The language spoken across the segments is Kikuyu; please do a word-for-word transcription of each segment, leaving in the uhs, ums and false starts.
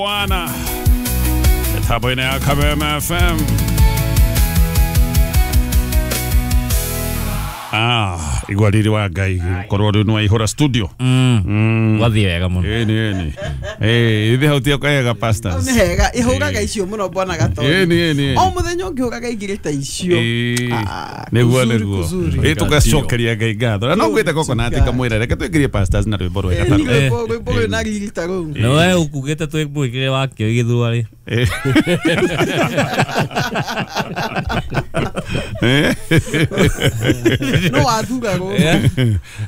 Bwana mĩtambo-inĩ ya Kameme F M. Ah, igua riri wa Ngai korwo rĩu nĩwaihũra studio. Mm. Wathiĩ wega mũno. Ĩni ĩni. Eh, ithe hau ti kwega pastors. Nĩ hega, ihũraga icio mũno bwana Gatonyo. Ĩni ĩni. O mũthenya ũngĩhũraga igĩrĩ ta icio. Nĩguo nĩguo. Ĩ tũgacokeria Ngai ngatho. Na no ngwĩte coconut kamwĩra reke twĩngĩrie pastors na rwĩmbo rwega ta rũu. Rwĩmbo rwĩ na riri ta rũu. No we ũkugĩte twĩmwĩkĩre wakĩo gĩthua rĩ. No wathura rũ.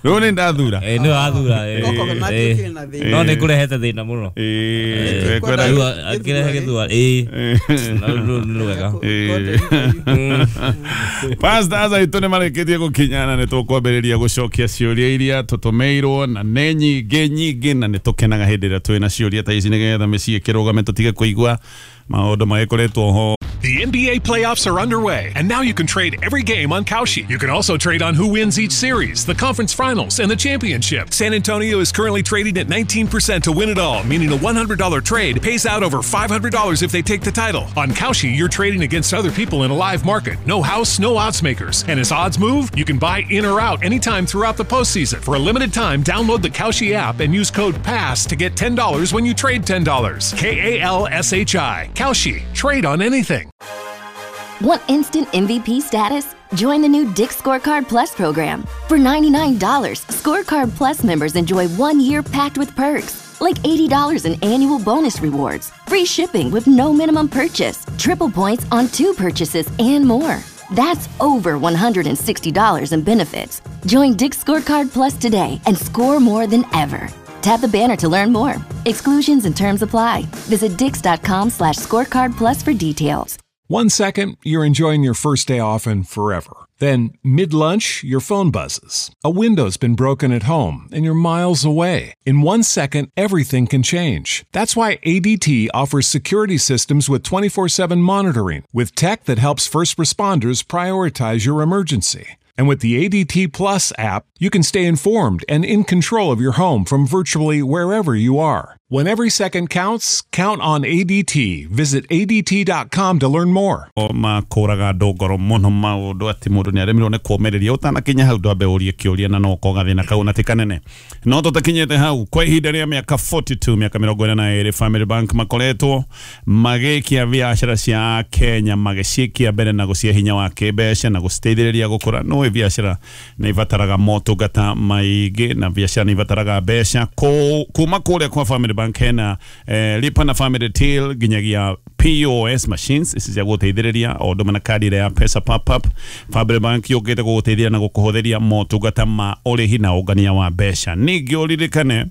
Rũu nĩ ndathura. Ĩ nĩ wathura. No nĩ kũrehete thĩna mũno. Ĩ akĩrehe gĩthua. Ĩ no wega. Pastors aitũ nĩ marĩkĩtie gũkinya na nĩ tũkwambĩrĩria gũcokia ciũria iria tũtũmĩirwo na nĩ nyingĩ nyingĩ na nĩ tũkenaga hĩndĩ ĩrĩa twĩna ciũria ta ici nĩgetha mĩciĩ ĩkĩrũgame tũtige kũigua maũndũ magĩkoretwo ho. The N B A playoffs are underway, and now you can trade every game on Kalshi. You can also trade on who wins each series, the conference finals, and the championship. San Antonio is currently trading at nineteen percent to win it all, meaning a one hundred dollar trade pays out over five hundred dollars if they take the title. On Kalshi, you're trading against other people in a live market. No house, no odds makers. And as odds move, you can buy in or out anytime throughout the postseason. For a limited time, download the Kalshi app and use code PASS to get ten dollars when you trade ten dollars. K A L S H I. Kalshi. Trade on anything. Want instant M V P status? Join the new Dick's Scorecard Plus program. For ninety-nine dollars, Scorecard Plus members enjoy one year packed with perks, like eighty dollars in annual bonus rewards, free shipping with no minimum purchase, triple points on two purchases, and more. That's over one hundred sixty dollars in benefits. Join Dick's Scorecard Plus today and score more than ever. Tap the banner to learn more. Exclusions and terms apply. Visit dicks.com slash scorecard plus for details. One second, you're enjoying your first day off and forever. Then, mid-lunch, your phone buzzes. A window's been broken at home, and you're miles away. In one second, everything can change. That's why A D T offers security systems with twenty-four seven monitoring, with tech that helps first responders prioritize your emergency. And with the A D T Plus app, you can stay informed and in control of your home from virtually wherever you are. When every second counts, count on A D T. Visit A D T dot com to learn more. Makũraga andũ ngoro mũno maũndũ atĩ mũndũ nĩ aremirwo nĩ kũũmĩrĩria ũtanakinya hau ndwambe ũrie kĩũria na no ũkoga thĩna kau na ti kanene. No tũtakinyĩte hau kwa ihinda rĩa mĩaka forty-two, mĩaka mĩrongo ĩna na ĩrĩ, Family Bank makoretwo magĩkia biacara cia Kenya magĩciĩkia mbere na gũcihe hinya wa kĩmbeca na gũciteithĩrĩria gũkũra. No biacara nĩ ibataraga motungata maingĩ na biacara nĩ ibataraga mbeca kuma kũrĩa kwa Family Bank hena eh, lipa na Family Till nginyagia P O S machines ici cia gũteithĩrĩria o ũndũ na kadi ĩrĩa ya pesa pop up. Family Bank yũkĩte gũgũteithia na gũkũhũthĩria motungata ma ũrĩhi na ũngania wa mbeca. Ningĩ ũririkane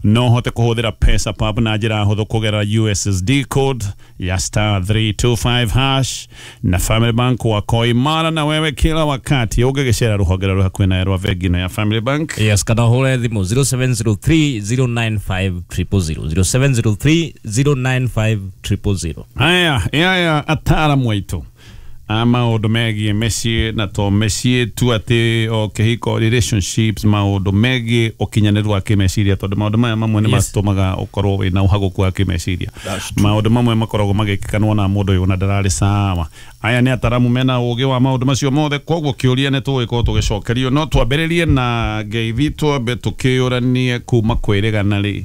no hote kũhũthĩra pesa pop na njĩra hũthũ kũgerera U S S D code ya star three two five hash na Family Bank wako imara na wewe kila wakati. Ũngĩgĩcera rũhonge rwa hakuhĩ na rwa bengi ĩno ya Family Bank. Yes, kana ũhũre thimũ zero seven zero three zero nine five triple zero, zero seven zero three zero nine five triple zero. Aya, aya ataaramu aitũ a maũndũ megiĩ mĩciĩ na to mĩciĩ tu atĩ o kĩhiko, relationships, maũndũ megiĩ ũkinyanĩru wa kĩmeciria, tondũ maũndũ maya mamwe nĩ matũmaga ũkorwo wĩna ũhagũku wa kĩmeciria. Maũndũ mamwe makoragwo magĩkĩka nĩwona mũndũ ũyũ ona ndararĩ sawa. Aya nĩ ataramu mena ũgĩ wa maũndũ macio mothe, koguo kĩũria nĩ tũgũgĩkorwo tũgĩcokerio. No twambĩrĩrie na ngeithi, twambe tũkĩũranie kuma kwĩrĩgana rĩ,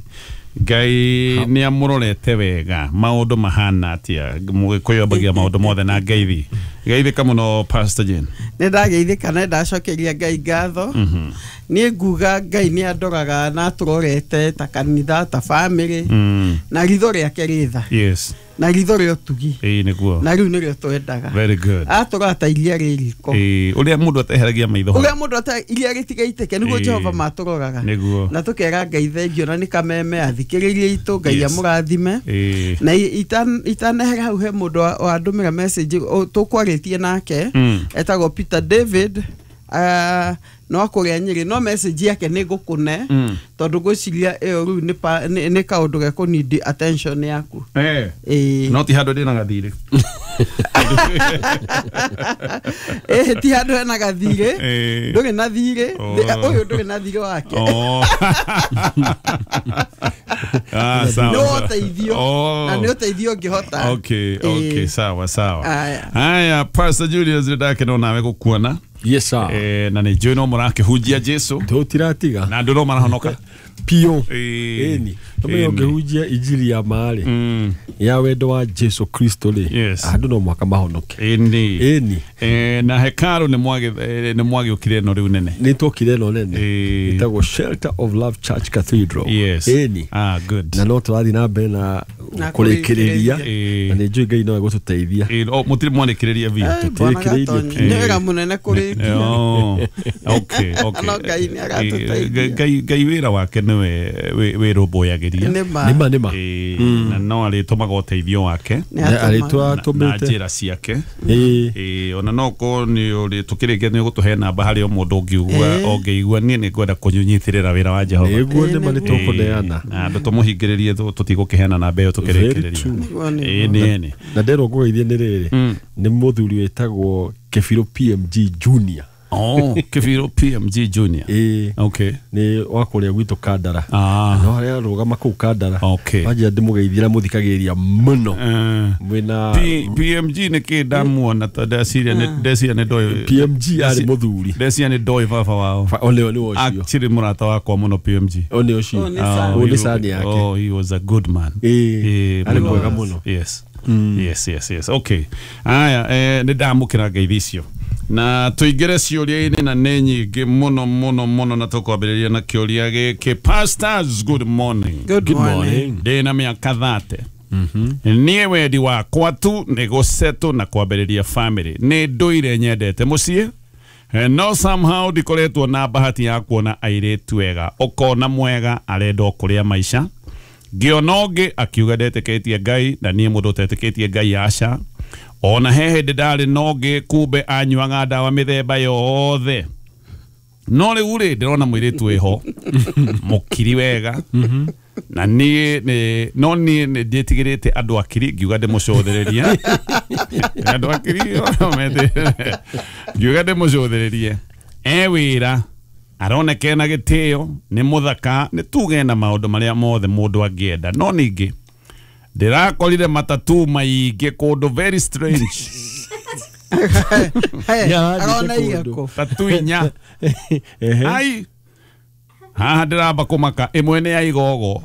Ngai nĩ amũrorete wega, maũndũ mahana atĩa? Mũgĩkũyũ ambagia maũndũ mothe na ngeithi. Geithĩka mũno Pastor Jane. Nĩ ndageithĩka na ndacokeria Ngai ngatho. Niĩ nguga Ngai nĩ andoraga na atũrorete ta kanitha, ta family, na ritho rĩake rĩ tha. Yes. Na ritho rĩa ũtugi. Ĩĩ nĩguo. Na rĩu nĩrĩo twendaga. Very good. Atũrora ta iria rĩ riko. Ĩĩ ũrĩa mũndũ ateheragia maitho. Ũrĩa mũndũ ate iria rĩtigaitĩke nĩguo Jehova matũroraga. Nĩguo. Na tũkera Ngai thengio na nĩ kameme athikĩrĩrie itũ, Ngai amũrathime. Na itanehera hau he mũndũ wandũmĩra message tũkwarĩtie nake etagwo Peter David Ah, no akũrĩa Nyĩrĩ no message yake nĩ ngũkũne tondũ ngwĩciria ĩyo rĩu nĩ pa- nĩ nĩ kaũndũ gekũnidi attention yaku. Eh. Ĩĩ. No ti handũ ndĩna gathirĩ. Ĩĩ, ti handũ hena gathirĩ. Ĩĩ. Ndũrĩ na thirĩ. Oh. Ũyũ ndũrĩ na thirĩ wake. Oh. Ah, sawa. Nĩ woteithio. Oh. Na nĩ ũteithio ũngĩhota. Okay, okay, Ĩĩ. sawa sawa. Aya. Haya, Pastor Julius ndakena nawe gukuona. Yes sir. Eh, na nĩ njũĩ no mũrakĩhunjia Jesu Tũtiratiga na andũ no marahonoka. Pio. Ĩĩ. Ĩni tũmenye Ĩni. ũngĩhunjia injiri ya maarĩ Mm. ya wendo wa Jesu Kristo rĩ, Yes. andũ no mũhaka mahonoke. Ĩni. Ĩni. Eh, na hekaru nĩ mwagĩ eh, nĩ mwagĩũkire ĩno rĩu nene. Nĩ twokire ĩno nene Ĩĩ. ĩtagwo Shelter of Love Church Cathedral. Yes. Ĩni. Ah, good. Na no tũrathiĩ na mbere na Na kũrĩkĩrĩria Ĩĩ. na nĩ njũĩ Ngai no egũtũteithia. Ĩĩ, oh, mũtirĩ mwarĩkĩrĩria biũ. Eh, Bwana Tũtirĩkĩrĩirie Gatonyi, biũ. nĩ wĩra mũnene kũrĩkia. Oh, okay, okay. No Ngai nĩ aratũteithia. Eh, Ngai Ngai wĩra wake nĩwe wĩ- wĩrũmbũyagĩria. Nĩ ma. Nĩma nĩma. Ĩĩ, na no arĩtũmaga ũteithio wake Nĩ Na atũmaga. arĩtwa na na tũmĩte. njĩra ciake. Ĩĩ. Ĩĩ, ona no korwo nĩ ũrĩ tũkĩrĩkia nĩ ũgũtũhe namba harĩ o mũndũ ũngiugua Ĩĩ. ũngĩigua niĩ nĩ ngwenda kũnyitĩrĩra wĩra wa Jehova. Nĩguo Ĩĩ, nĩma nĩ nĩguo. tũkũneana. Ĩĩ, na andũ tũmũhingĩrĩrie tũ- tũtigũkĩheana namba ĩyo Very tũkĩrĩkĩrĩria. true. Nĩguo, nĩguo. Ĩĩ, nĩ ĩni. Na nderwo ngũgeithie nĩ rĩrĩ nĩ mũthuri wĩtagwo Kebiro P M G Junior. Oh, Kebiro P M G Junior. Ĩĩ. Okay. Nĩ wa kũrĩa gwitũ Kandara. Ah. No harĩa arũgama kũu Kandara. Okay. Wanjia ndĩmũgeithie na mũthikagĩrĩria mũno. Eh, Mwĩna P- PMG nĩ kĩ ndamuona tondũ ndeciria nĩ ndeciria nĩ ndoĩ P M G arĩ mũthuri. ndeciria nĩ ndoĩ baba wao. Fa- o nĩo nĩ ũcio. Actually mũrata wakwa mũno P M G. O nĩ ũcio. O nĩ Sani. O nĩ he- Sani yake. Oh, he was a good man. Ĩĩ. Ĩĩ, Arĩ mũno. mwega mũno. Yes. Yes, yes, yes. Okay. Aya, eh, nĩ ndamũkĩra ngeithi icio. Na tũingĩre ciũria-inĩ na nĩ nyingĩ mũno mũno mũno na tũkwambĩrĩria na kĩũria gĩkĩ. Pastors, good morning. Good Good morning. morning. Ndĩ na mĩaka thate. Niĩ wendi wakwa tu nĩ gũsetũ na kwambĩrĩria family. Nĩ ndũire nyendete mũciĩ. Eh, no somehow ndikoretwo na bahati ya kuona airĩtu ega. Ũkona mwega arenda o kũrĩa maica. Ngĩona ũngĩ akiuga ndetĩkĩtie Ngai na niĩ mũndũ ũtetĩkĩtie Ngai aca. Ona he hĩndĩ ndarĩ na ũngĩ kumbe anyuaga ndawa mĩthemba yothe. No rĩu rĩ ndĩrona mũirĩtu wĩho mũkiri wega na niĩ nĩ no niĩ nĩ ndĩtigĩrĩte andũ akiri ngiuga ndĩmũcũthĩrĩrie. Andũ akiri mete- ngiuga ndĩmũcũthĩrĩrie. E wĩra aroneka ena gĩtĩo nĩ mũthaka nĩ tuge na maũndũ marĩa mothe mũndũ angĩenda no ningĩ ndĩrakorire matatu maingĩ kũndũ very strange. Hey, Yarathiĩte arona kũndũ. igako. Tatu inya. Ehe. Ai haha ndĩramba kũmaka ĩmwe nĩ ya igogo.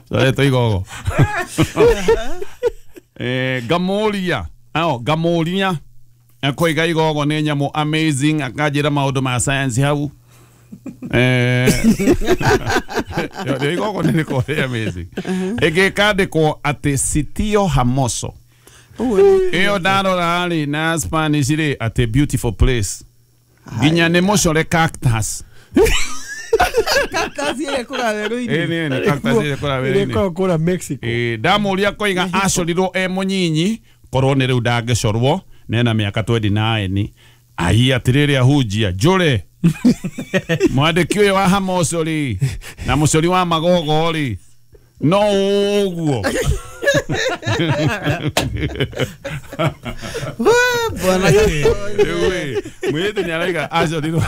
Coretwo igogo. Eh, ngamũria ao ngamũria akoiga igogo nĩ nyamũ amazing akanjĩra maũndũ ma science hau. Eh, yo igogo nĩ rĩkoragwo rĩ amazing. Ĩngĩ ĩkandĩkwo atĩ Sitio Hermoso. Ũguo nĩ- Ĩyo ndarora rĩ na Spanish rĩ atĩ beautiful place. Nginya nĩ mũcore cactus. Cactus ĩrĩa ĩkũraga werũ-inĩ. Ĩĩ, nĩ, nĩ cactus ĩrĩa ĩkũraga Ĩrĩa werũ-inĩ. ĩkoragwo kũrĩa Mexico. Ĩĩ, ndamũria koiga acorirwo e mũnyinyi korwo nĩ rĩu ndangĩcorwo nena mĩaka twenty nine. Ai atĩrĩrĩ ahunjia njũre mwandĩki ũyũ wa Hermoso rĩ na mũcori wa magogo rĩ no ũguo. We, Bwana Gatonyi. Rĩu ĩ, mũirĩtu nĩ araiga acorirwo.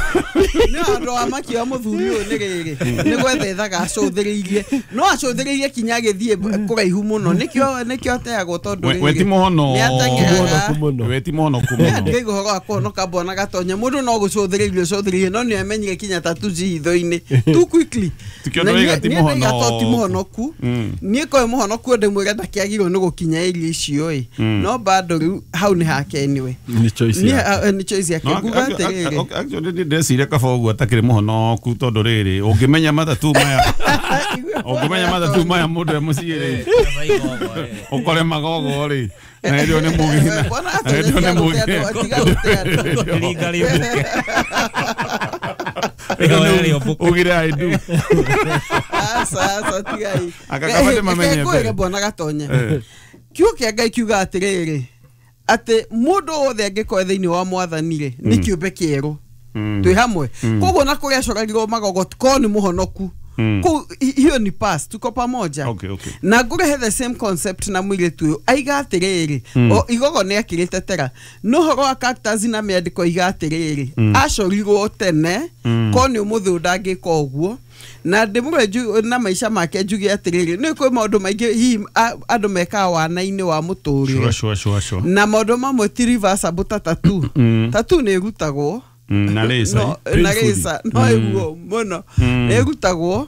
Nĩ ũndũ wa maki wa mũthuri ũyũ nĩ rĩrĩ nĩ gwetha ethaga acũthĩrĩirie no acũthĩrĩirie kinya agĩthiĩ kũraihu mũno nĩkĩo nĩkĩo ateagwo tondũ We- rĩrĩ, we ti mũhono. nĩ ateng'eraga. Mũhonoku mũno. We ti mũhonoku mũno. Ndĩraigua ũhoro wa kũhonoka Bwana Gatonya mũndũ no gũcũthĩrĩirie ũcũthĩrĩirie no nĩ amenyire kinya tatu ci hitho-inĩ too quickly. Tikio Na ndũraiga niĩ- ti niĩ ndaiga to mũhonoku. ti mũhonoku niĩ koe mũhonoku ndĩmwĩre ndakĩagĩrĩirwo nĩ gũkinya area icio ĩ no bado rĩu hau nĩ hake anyway. Nĩ choice Niĩ, yake. ah, nĩ choice yake No, nguga ac- ac- atĩrĩrĩ ac- actually nĩ ndeciria kaba ũguo atakĩrĩ mũhonoku tondũ rĩrĩ ũngĩmenya matatu maya ũngĩmenya matatu maya mũndũ e mũciĩ rĩ ũkore magogo rĩ na hĩndĩ ĩyo nĩ mũgĩ Bwana na hĩndĩ ĩyo nĩ Gatonya mũgĩ tiga gũte andũ, tiga gũte andũ. Ringa rĩũmbũke. Rĩhoya rĩũmbũke. Ugire I do. Aca, aca, tigai. Aka kaba ndĩmamenye Reke ngwĩre mbere. Bwana Gatonya Eh. kiugo kĩa Ngai kiuga atĩrĩrĩ atĩ mũndũ wothe angĩkorwo thĩinĩ wa mwathani rĩ nĩ kĩũmbe kĩerũ twĩ hamwe koguo na kũrĩa acorarirwo magogo korwo nĩ mũhonoku kũu hiyo ni past tuko pamoja. Okay, okay. Na ngũrehe the same concept na mũirĩtu ũyũ aiga atĩrĩrĩ o igogo nĩ akĩrĩtetera no ũhoro wa cactus na mĩandĩko aiga atĩrĩrĩ acorirwo tene korwo nĩ ũmũthĩ ũyũ ndangĩka ũguo na ndĩmũre na maica make njuge atĩrĩrĩ nĩ kwĩ maũndũ maingĩ hihi andũ mekaga wana-inĩ wa mũtũrĩre. Sure, sure, sure, sure. Na maũndũ mamwe ti reversible ta tattoo. Tattoo nĩ ĩrutagwo na laser no, na laser no ĩguo mũno nĩ ĩrutagwo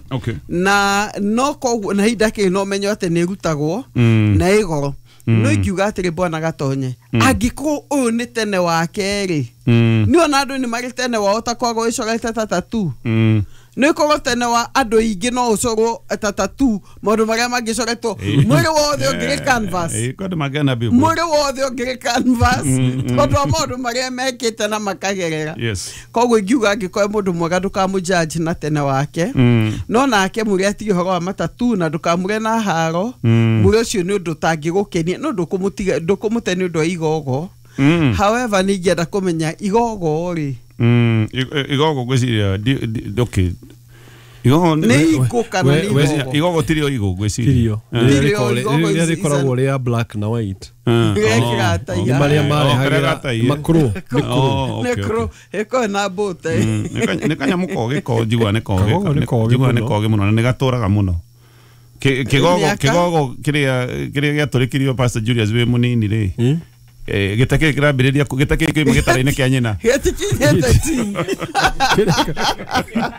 na no koguo na hinda kĩ no menyo atĩ nĩ ĩrutagwo na ĩ goro no ingiuga atĩrĩ bwana Gatonye angĩkorwo ũyũ nĩ tene wake rĩ nĩ ona andũ nĩ marĩ tene wao ta kwaga ĩcorete ta tattoo nĩ korwo tene wa andũ aingĩ no ũcorwo ta tattoo maũndũ marĩa mangĩcoretwo mwĩrĩ wothe ũngĩrĩ canvas mwĩrĩ wothe ũngĩrĩ canvas tondũ wa maũndũ marĩa mekĩte na makagerera. Koguo ingiuga angĩkorwo mũndũ mwega ndũkamũjudge na tene wake no nake mũrĩa atige ũhoro wa matatu na ndũkamũre na haro mũrĩ ũcio nĩ ũndũ ũtangĩgũkenia no ndũkũmũtiga ndũkũmũte nĩ ũndũ wa igogo. However nĩ ingĩenda kũmenya igogo rĩ igogo ngwĩciria okay igogo nĩ igũ kana nĩ igogo igogo tirio igũ ngwĩciria rĩrĩa rĩkoragwo rĩa black na white nĩ marĩa marehagĩra makro nĩ kro ĩkoragwo na mbũte nĩ kanyamũ kogĩ ko njiguaga nĩ kogĩ njiguaga nĩ kogĩ mũno na nĩ gatũraga mũno kĩgogo kĩgogo kĩrĩa kĩrĩa gĩatũrĩkirio Pastor Julius wĩ mũnini rĩ gĩteke kĩrambĩrĩria gĩteke kĩima gĩtara-inĩ kĩa nyina gĩtikinyĩte team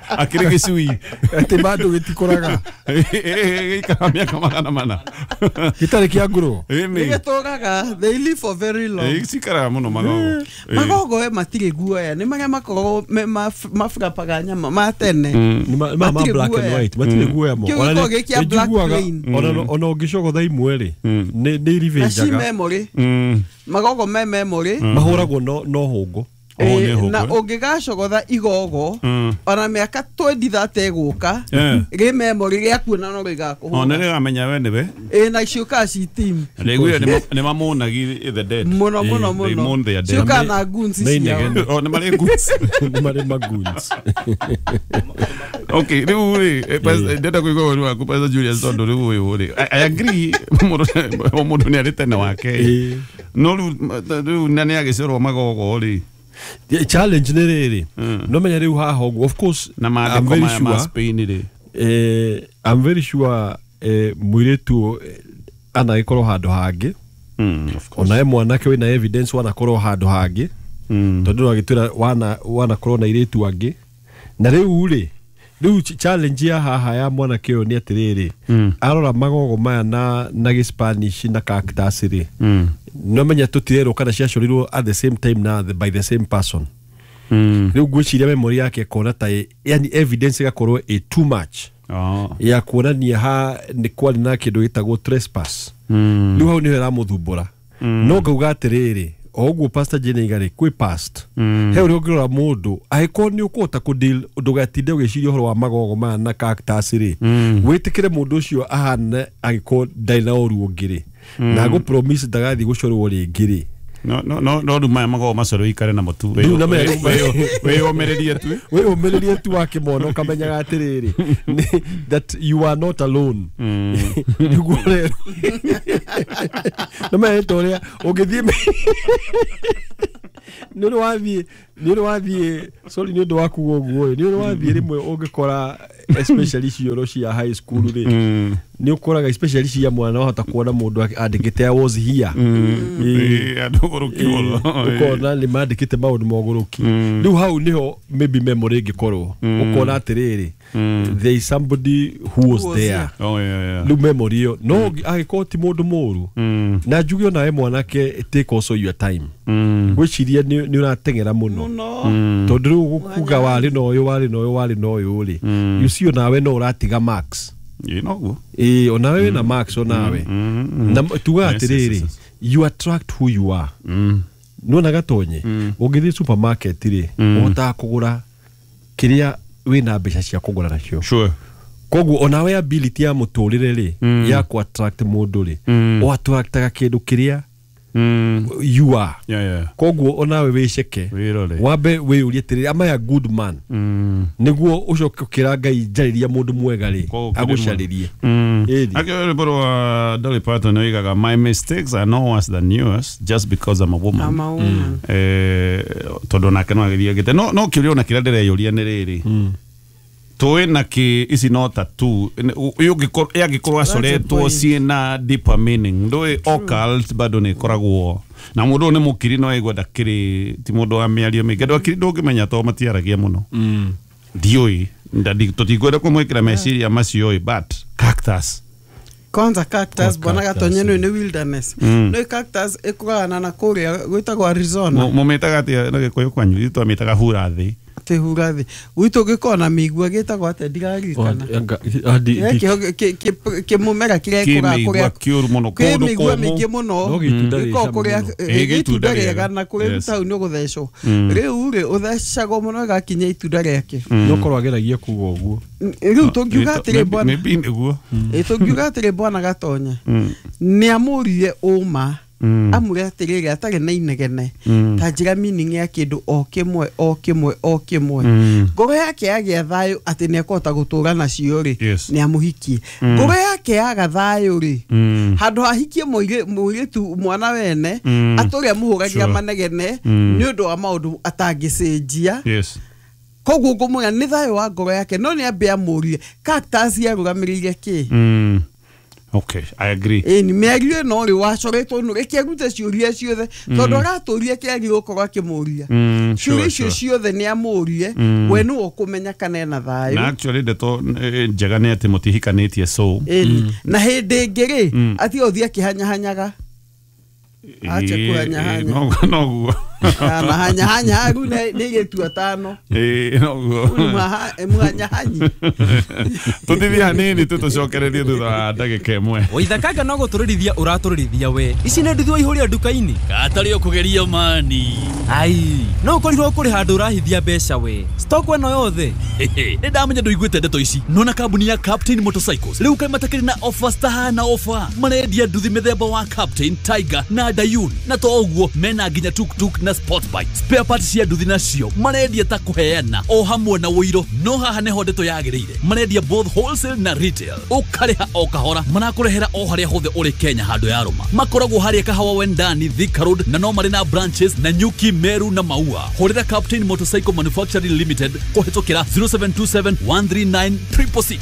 akĩrĩ gĩcui atĩ bado gĩtikũraga gĩikaraga mĩaka magana mana gĩtarĩ kĩa ngũrũ nĩgĩtũraga they live for very long cikaraga mũno magogo magogo we matirĩ guoya nĩ marĩa makoragwo maburapaga nyama ma tene ma black and white matirĩ guoya mo ona ũngĩcogotha imwe rĩ nĩ irivenjaga memory magogo me memory mahũragwo no no hũngũ na ũngĩgacogotha igogo ona mĩaka twenty thirty ĩgũka rĩ memory rĩakuona no rĩgakũhũra ona rĩramenya we nĩwe ĩ na ciũkaga ci team rĩguire nĩ mamonagi the dead mũno mũno mũno ciũkaga na goons ciao o nĩ marĩ goons nĩ marĩ magoons. Okay rĩu rĩ ndenda kũigua ũru waku Pastor Julius tondũ rĩu ũyũ rĩ I agree mũndũ nĩ arĩ tene wake no rĩu na nĩ agĩcorwo magogo rĩ challenge nĩ rĩrĩ no menya rĩu haha ũguo of course na maandĩko maya ma Spain rĩ eh I'm very sure eh mũirĩtu anagĩkorwo handũ hangĩ onawe mwanake wĩna evidence wanakorwo handũ hangĩ tondũ no agĩtwĩra wana wanakorwo na airĩtu angĩ na rĩu rĩ rĩu challenge ya haha ya mwanake ũyũ nĩ atĩrĩrĩ arora magogo maya na na gĩspanish na cactus rĩ no menya tũtirerwo kana ciacorirwo at the same time na by the same person rĩu ngwĩciria memory yake ĩkona ta yani evidence ĩgakorwo ĩ too much ya kuonania ha nĩ kwarĩ na kĩndũ gĩtagwo trespass rĩu hau nĩho ĩramũthumbũra no ngauga atĩrĩrĩ o ũguo Pastor Jane aiga rĩ kwĩ past he ũrĩa ũngĩrora mũndũ angĩkorwo nĩ ũkũhota kũ deal ndũgatinde ũgĩciria ũhoro wa magogo maya na cactus rĩ wĩtĩkĩre mũndũ ũcio ahane angĩkorwo ndarĩ na ũru ũngĩ rĩ na ngũ promise ndagathiĩ gũcorwo rĩngĩ rĩ no no no no rĩu maya magogo macorwo ikare namo tu wĩyũmĩrĩrie tu wĩyũmĩrĩrie tu wakĩmona ũkamenyaga atĩrĩrĩ that you are not alone nĩguo rero no menya ta ũrĩa ũngĩthiĩ nĩ ũrĩ wathiĩ nĩ ũrĩ wathiĩ sorry nĩ ũndũ wa kuga ũguo nĩ ũrĩ wathiĩ rĩmwe ũngĩkora especially cioro cia high school rĩ nĩ ũkoraga especially cia mwana wahota kuona mũndũ andĩkĩte I was here andũ ũgũrũki mũno ũkona nĩ mandĩkĩte maũndũ ma ũgũrũki rĩu hau nĩho maybe memory ĩngĩkorwo ũkona atĩrĩrĩ there is somebody who was there oh yeah yeah rĩu memory ĩyo no angĩkorwo ti mũndũ mũru na njuge onawe mwanake take also your time ngwĩciria nĩ ũrateng'era mũno tondũ rĩu kuga warĩ na ũyũ warĩ na ũyũ warĩ na ũyũ rĩ you see onawe no ũratiga marks ĩ noguo ĩ onawe wĩna marks onawe na tuga atĩrĩrĩ you attract who you are nĩwona Gatonye ũngĩthiĩ supermarket rĩ ũhotaga kũgũra kĩrĩa wĩna mbeca cia kũgũra nacio sure koguo onawe ability ya mũtũrĩre rĩ ya kũ attract mũndũ rĩ ũ attractaga kĩndũ kĩrĩa You are. Yeah, yeah. Koguo onawe wiceke wambe wiyurie atĩrĩrĩ, am I a good man? Nĩguo ũcoke ũkĩra Ngai njarĩria mũndũ mwega rĩ agũcarĩrie. Akĩo rwĩmbo rwa Dolly Parton oigaga, my mistakes are no worse than yours just because I'm a woman. I'm a woman. Eh, tondũ nake no agĩthiĩ agĩte no no kĩũria ona kĩrĩa ndĩreyũria nĩ rĩrĩ, tũĩ na kĩ ici no tattoo yangĩkorwo acoretwo ciĩna deeper meaning, ndũĩ occult bado nĩ ĩkoragwo na mũndũ ũyũ nĩ mũkiri no aigua ndakĩrĩ ti mũndũ wa mĩario mĩingĩ. Andũ akiri ndũngĩmenya tondũ matiaragia mũno, ndiũĩ tũtikwenda kũmwĩkĩra meciria macio ĩ, but cactus kwanza cactus bwana Gatonye nĩ nĩ wilderness, no cactus ĩkũragana na kũrĩa gwĩtagwo Arizona. Mũmĩtaga atĩa na Gĩkũyũ kwanyu? Ithuĩ twamĩtaga hura thĩ. Hura thĩ gwitũ gĩkorwo na mĩigua gĩtagwo atĩa ndiraririkana, kĩmũmera kĩrĩa gĩkũraga kũrĩa kĩũru mũno, kĩ mĩigua mĩingĩ mũno, gĩkoragwo kũrĩa gĩtunda rĩega na kũrĩa tau nĩ ũgũthecwo. Rĩu rĩ ũthecagwo mũno ĩgakinya itunda rĩake. No korwo ageragia kuga ũguo. Rĩu tũngiuga atĩrĩ bwana, tũngiuga atĩrĩ bwana Gatonye nĩ amũririe ũma, amũre atĩrĩrĩ atarĩ na inegene, ta njĩra meaning ya kĩndũ o kĩmwe o kĩmwe o kĩmwe, ngoro yake yagĩa thayũ atĩ nĩ ekũhota gũtũra nacio rĩ, nĩ amũhikie. Ngoro yake yaga thayũ rĩ, handũ hahikie mũirĩtu mwana wene atũre amũhũragĩra manegene nĩ ũndũ wa maũndũ atangĩcenjia. Koguo ngũmwĩra nĩ thayũ wa ngoro yake, no nĩ ambe amũrie cactus yarũgamĩrĩire kĩ. Okay, I agree. Eh, ni mĩario ĩno rĩ wacoretwo nũ reke arute ciũria ciothe tondũ aratũria kĩagĩrĩirwo gũkorwo akĩmũria ciũria icio ciothe nĩ amũrie, we nĩwe ũkũmenya kana ena thayũ. Na actually ndeto njega nĩ atĩ mũtihikanĩtie, so na hĩndĩ ĩngĩ rĩ atige ũthiĩ akĩhanyahanyaga, ache kũhanyahanya noguo mahanyahanya rĩu nĩ airĩtu atano, noguo mũhanyahanyi. Tũtithie hanini tu tũcokererie thutha wa ndagĩka ĩmwe. Waithakanga no gũtũrĩrithia ũratũrĩrithia we, ici nĩ nduthi waihũria nduka-inĩ katarĩ ũkũgeria mani. Ai, no ũkorirwo kũrĩ handũ ũrahithia mbeca we, stock ĩno yothe. Nĩ ndamenya ndũiguĩte ndeto ici. Nona kambuni ya Captain Motorcycles rĩu kaĩ matakĩrĩ na offers tahana offer, marendia nduthi mĩthemba wa Captain, Tiger na Dayun, na to ũguo mena nginya tuktuk na sport bike. Spare parts cia nduthi nacio marendia ta kũheana o hamwe na ũiro, no haha nĩho ndeto yagĩrĩire, marendia both wholesale na retail, ũkarĩha o kahora, marakũrehera o harĩa hothe ũrĩ Kenya handũ ya rũma. Makoragwo harĩa Kahawa Wendani, Thika Road, na no marĩ na branches na Nyuki, Meru na Maua. Hũrĩra Captain Motorcycle Manufacturing Limited kũhĩtũkĩra zero seven two seven one three nine triple six.